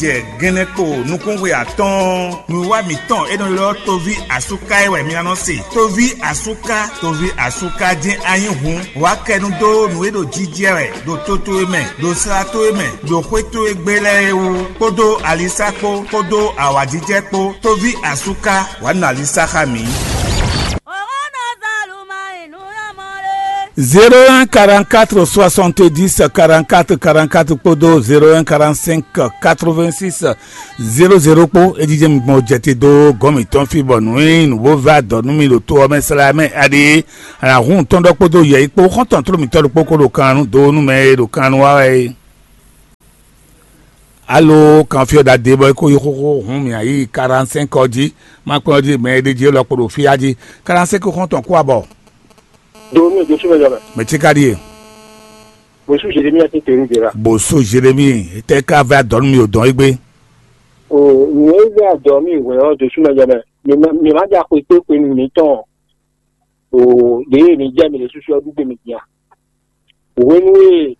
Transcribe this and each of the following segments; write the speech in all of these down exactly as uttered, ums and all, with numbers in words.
Jɛ gɛnɛ kpo nukúnxwe atɔ́ɔ́n, nǔwiwa mǐtɔn e nɔ ylɔ́ Toví Asúká é wɛ mi ná nɔ se. Toví Asúká, Toví Asúká jɛ́n a nyí hǔn, wǎ kɛ nu dó nǔ e ɖo jijɛ wɛ ɖo to towe mɛ, ɖo sla towe mɛ, ɖo xwé towe gbe lɛ́ɛ é wú, kpódó alisá kpó, kpódó awǎjijɛ kpó. Toví Asúká, wǎ nɔ alisá xá mǐ. Zéro un quarante-quatre soixante-dix quarante-quatre quarante-quatre kpódó zéro un quarante-cinq quatre-vingt-six zéro zéro kpó. É jijɛ mi gbɔn jɛ te dó gɔ́n mǐtɔn fí bɔ nǔ e nǔ bó vɛ́ adɔ̌ nú mi ɖo to ɔ́ mɛ slá mɛ aɖé. Alahun tɔn ɖɔ kpódó yɛ̌yi kpó xɔ́ntɔn tló mǐtɔn ɖokpó kó ɖo kan nú dó nú mɛ e ɖo kan nú wa wɛ é. Alo kan fí ɔ́ ɖadé bɔ é kó yi xóxó hǔn mǐ yi quarante-cinq ɔ́ jí, má kpɛ́n ɔ́ jí mɛ e ɖ'é jí élɔ́ kpo ɖo fí á jí. Quarante-cinq xɔ́ntɔn kú abɔ. Do nú Jesu mɛ jɔmɛ. Mɛ tí ka ɖíe. Bosú Jeremia ti tenu de la. Bosú Jeremie, tɛ ka vɛ adɔnu mi o dɔn egbe. O nù e vɛ adɔ mi wɛ ɔ Jesu mɛ jɔmɛ. Mi ma ja xwe tó xwe nù mi tɔn. O ɖe mi jɛ mi le susu ɔ dugbe mi dia. Hwenu e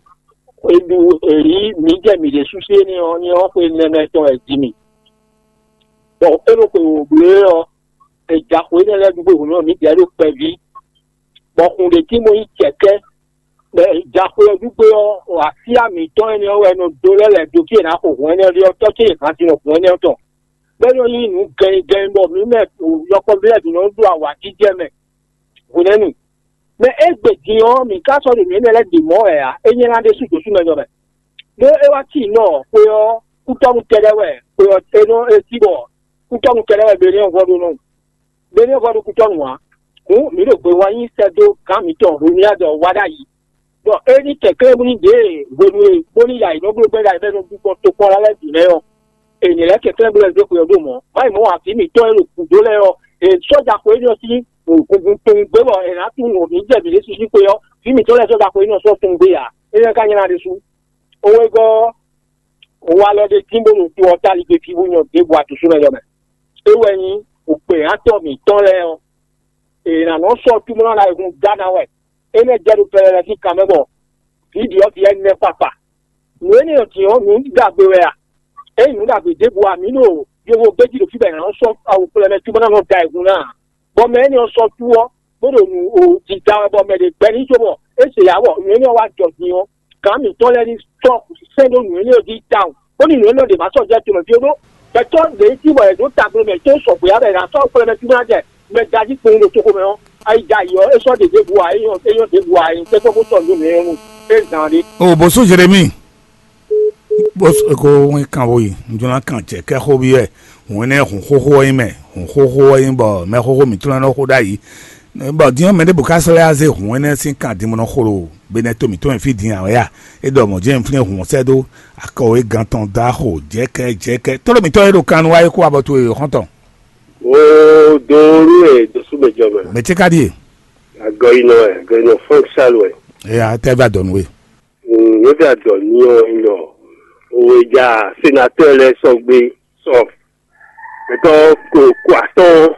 eɖu èyí mǐ jɛ mǐ ɖésú sí énɛ́ ɔ́, ní ɔ́ xwe nɛnɛ tɔn wɛ jí mì. Bɔ é ɖo xwe wǒ bló é ɔ́, è ja xwe énɛ́ lɛ́ɛ dúgbò hǔn ɔ́, mǐdɛɛ ɖo kpɛví, bɔ xun ɖě cí mo nyí cɛ̌kɛ́. Bɔ è ja xwe ɔ́ dúgbò ɔ́, asyá mǐtɔn énɛ́ ɔ́ wɛ è nɔ dó lɛ́ lɛ̌ dó fí è nǎ xo hǔn énɛ́ ɔ́ ɖe ɔ́, tɔ́ ce e hǎn din ɔ́ hǔn énɛ́ ɔ́ tɔn. Bɔ é nɔ nyí nǔ gɛnnyigɛnnyí bɔ mǐ mɛ yɔkpɔ́vú lɛ́ɛ bǐ nɔ ɖo awǎjijɛ mɛ hwenɛ́nu. Mɛ e gbe din ɔ́, mǐ ka sɔ́ ɖo nǔ énɛ́ lɛ́ɛ ɖe mɔ̌ wɛ ǎ; é nyɛ́ ná ɖésú dǒ súnmɛ jɔ mɛ. Ɖó é wá cí nɔ xwe ɔ́, kútɔ́nú kɛ́ɖɛ́ wɛ xwe ɔ́ é nɔ é cí bɔ kútɔ́nú kɛ́ɖɛ́ wɛ Beliɔ́ɔ vɔ ɖó nɔ. Beliɔ́ɔ vɔ ɖó kútɔ́nú ǎ. Hǔn mǐ ɖo gbe wa nyi sɛ́ dó gǎn mǐtɔn Hlomyád ɔ́ wá ɖ'ayǐ. Bɔ é ní kɛnklɛ́n bóní ɖě hwenu e bóní ya yě nɔ bló gbɛ́ ɖ'ayǐ bɔ é nɔ ɖu gbɔn tokpɔ́n lɛ́ɛ bǐ mɛ ɔ́, è nǐ lɛ́ kɛnklɛ́n bó lɛ́ zé xwe ɔ́ ɖó mɔ̌. Má yi mɔ̌ ǎ, vǐ mǐtɔn e ɖo gǔdo lɛ́ɛ ɔ́, è sɔ́ja xwe énɛ́ ɔ́ sín kúngun kpowun gbé bɔ è nǎ tunwun mǐ jɛ mǐ ɖésú sín xwe ɔ́, vǐ mǐtɔn lɛ́ɛ sɔ́ja xwe énɛ́ ɔ́ sɔ́ tunwun gbé ǎ. Énɛ́ ka nyí ná ɖésú. Owegɔ́ ɔ́, walɔ ɖé tín bó ɖo to ɔ́ táligbe fí bó nyɔ ɖěbǔ atǔsúnɔ jɔ mɛ. É wɛ nyí wǔkpɛ́ atɔ́ mǐtɔn lɛ́ɛ ɔ́, è nǎ nɔ sɔ́ túmlɔ́ ná e hun Gana wɛ. Énɛ́ jɛ ɖo pɛlɛlɛ sín kan mɛ bɔ vǐ ɖyɔ̌vǐ ɛnɛ kpakpa. Nǔ énɛ́ ɔ́ din ɔ́, nǔ ɖagbe wɛ a? Ényí nǔ ɖagbe ɖěbǔ a, mǐ ɖo yovo gbéjí ɖo fí bɔ è nǎ nɔ sɔ́ awu kplɔ́ mɛ cóbɔ ná nɔ da ayihún ná ǎ. Bɔ mɛ énɛ́ ɔ́ sɔ́ cú ɔ́, bó ɖo nǔ o jǐda wɛ bɔ mɛ ɖě gbɛ́ n'i cóbɔ é se yǎ bɔ nǔ énɛ́ ɔ́ wá jɔ din ɔ́, gǎn mǐtɔn lɛ́ɛ ní sɔ́ sɛ́n ɖó nǔ énɛ́ ɔ́ jí tawun, bónú nǔ énɛ́ ɔ́ ɖě ma sɔ́ jɛ tomɛ fí ó ɖó. Gbɛtɔ́ ɖě cí bɔ è ɖǒ tagblo mɛ tó sɔgbe ǎ bɔ è nǎ sɔ́ xwlɛ́mɛ fí bó ná jɛ mɛ da jí kpowun ɖo toxo mɛ ɔ́, ayi da yi ɔ́, é sɔ́ ɖě ɖěbǔ ǎ, é nyɔ́ é nyɔ́ ɖěbǔ ǎ, é tɛ́ kpɔ́ bó sɔ́ nǔ mɛ ɔ́ nu é zǎn ɖé. O bǒsú Jeremíi, bó ko wɛn kan wo yi, un jló ná kan jɛ kɛ́ xó byɔ́ ɛ. Hǔn énɛ́ hǔn xóxó ɔ́ nyí mɛ, hǔn xóxó ɔ́ nyí bɔ mɛxóxó mǐtɔn lɛ́ɛ nɔ xo ɖ'ayǐ. Bɔ din ɔ́, mɛɖěbǔ ka sɔ́ lɛ́ wá zé hǔn énɛ́ sín kan din bó nɔ xo ɖo Benɛ́ to mǐtɔn e fí din ǎ wɛ a? É ɖɔ mɔ̌ jɛ́n un flín hǔn ɔ́ sɛ́ dó akɔ e gan tɔn dó axo jɛ̌kɛ́ jɛ̌kɛ́. Tlóló mǐtɔn e ɖo kan nu wá é kú abɔ towe xɔ́ntɔn. Wo do nú ɛ dó súnmɛ jɔ mɛ. Mɛ ce ka ɖíe? Agɔyinɔ ɛ, agɔyinɔ Frank Charles ɛ. Eya, tɛ va dɔ nú we. Nyɛ vɛ adɔ ní ɔ nyɔ. Òwe ja sénateur lɛ sɔgbe sɔ. Mɛtɔ ko ko atɔn.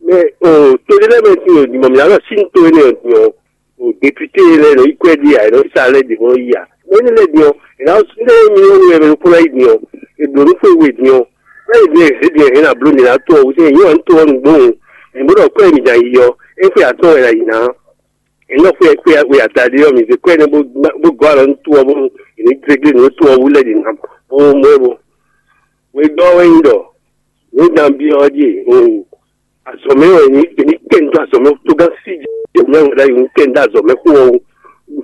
Mɛ o to ɖé lɛ mɛ ti o dimɔ mi alɔ sin to ne o dimɔ. O député lɛ nɔ yi kwɛ di a, nɔ sa lɛ di mɔ yi a. Mɛ ne lɛ diɔ, e na ne mi yɔ wɛ mɛ ko la yi diɔ. E blo nu fo we diɔ. Mɛ yi diɔ e diɔ e na blo mi na to o se yɔ n to o nu gbɔn. Mi bo dɔ kwɛ mi da yi yɔ. E fo atɔ wɛ la yi na. E nɔ fo kwɛ we ata di yɔ mi se kwɛ ne bo bo gɔ alɔ n to o bo. E ni gbegle nu to o wu lɛ di na. Bo mo bo. We dɔ we yin dɔ. Ni dan bi ɔ di. Azɔ̌mɛ wɛ nyí èmi kɛ ń dó azɔ̌mɛ tó gán sí jɛ nyɛ ŋu ɖ'ayǐ ń kɛ ń dó azɔ̌mɛ xó ɔ́ wú.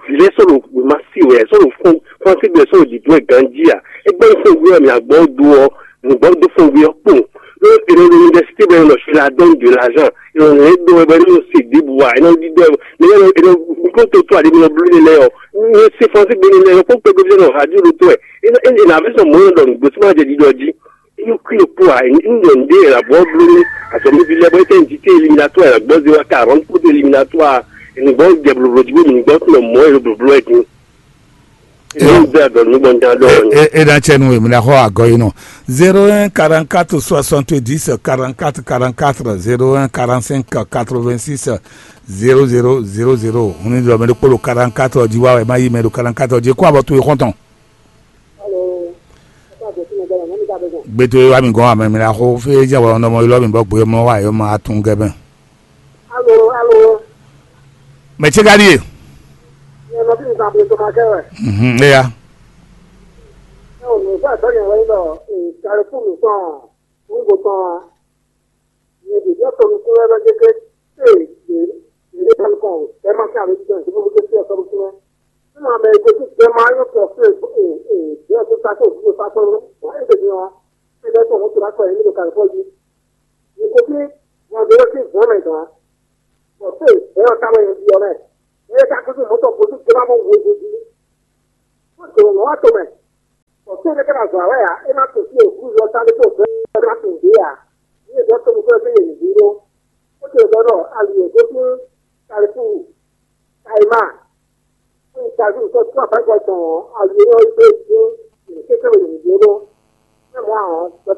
Vǐ lɛ́ɛ sɔ́ ɖo wěma sí wɛ, sɔ́ ɖo fɔ́n fɔ́n sí gbɛ, sɔ́ ɖo dǐdú wɛ ganjí a? É gbɛ́ fɔ́n gbé wɛ mǐ agbɔ́ dó ɔ́, nǔgbɔ́ dó fɔ́n gbé ɔ́ kpowun. Ɖó è nɔ ɖo université bɔ è nɔ nɔ la donne de l'argent, è nɔ nɔ é ɖó wɛ bɔ é nɔ se ɖěbǔ a, è nɔ ɖiɖɔ ɛ, mɛ è nɔ è nɔ mikro to tó aɖe mi nɔ bló ne lɛ́ɛ ɔ́, mi se fɔ́n sí gbé ne lɛ́ɛ ɔ́, kpó kpɛgbɛ́ nɔ radio ɖo tó wɛ, é nɔ é nɔ avɛ sɔn mɔ̌ nɔ ɖɔ nǔgbó sí má jɛ ɖiɖɔ jí. Inú kí ló kú à? Ńdọ̀ ndé è nà bọ́ bló ní azɔ̌míví lɛ́ɛ bɔ é tɛ́ njí té eliminatoire è nà gbọ́ zé wá quarante kódó eliminatoire è nì gbọ́ jɛ blǒbló jí bó mì ní gbọ́ tún nɔ mɔ̌ è ɖo blǒbló wɛ dín. Ìlú ń bẹ àgọ́ nígbà ń dá lọ́wọ́ ni. E e ɖa tsɛ nu èmi la xɔ agɔ yi nɔ. Zéro un quarante quatre soixante dix quarante quatre quarante quatre, zéro un quarante cinq quatre vingt six zéro zéro zéro zéro. Hun ni dɔ mɛ ɖo kpolo quarante quatre ɔdi wa wɛ ma yi mɛ ɖo quarante quatre ɔdi kó abɔ to yi xɔntɔn. Gbé tó é wá mi gɔ́n amɛ mi la xó fé jẹ́ wɔ nɔmɔ ylɔ́ mi bɔ gbé mɔ wá yɔ ma atún gɛ bɛn. Alo, alo, Mɛ ce ka ɖíe? Nyɛ nɔví mi zan ble tɔn ma kɛ wɛ. Mhm, éya. Ɛ o, nǔ fún àtɔ́ nyɛ wɛ nyí ɖɔ Kalifúnu tɔn, Kúngo tɔn, nyɛ ɖě ɖɔ tɔn nukún wɛ bɛ kéké. Ee, ɖě ɖě tɔn kɔn, ɛ ma kí àlejò tɔn, ìdílé wípé sí ọ̀sán lókun mẹ́. Nínú àmì ìgbésí jẹ máa yóò tọ̀ sí ìgbésí tó sáké òfin tó sáké ló, wọ́n ń tètè wọn. Ṣé bẹ́ẹ̀ tó òun tó lákọ̀ yìí nílò kàlífọ́ yìí? Nìkó bí wọn bí wọ́n ti gbọ́n mẹ́ gan. Bọ̀ sí ìgbésí ọ̀tá wọn yẹn bí ọmọ ẹ̀. Ẹ ká kúndùn mọ́tò kó tún jẹ́ bá mọ̀ wéjejì. Wọ́n tò wọ́n wá tó mẹ́. Bọ̀ sí ẹ̀dẹ́gbẹ́ náà zọ̀ àwẹ́ yá, é má tó sí òkú yọ sáré tó fẹ́ ẹ má tó dé yá. Ní ìjọ tó ní fẹ́ fẹ́ yẹn yìí ró. Ó ti lè gbọ́dọ̀ alùpùpù tó fún Kàlífù, Kàìmá, fún ìtajú nǹkan tó àbájọ tán alùpùpù yẹn ó gbé fún ìkékèké yẹn yìí ró. Ẹ mọ àwọn pẹpẹ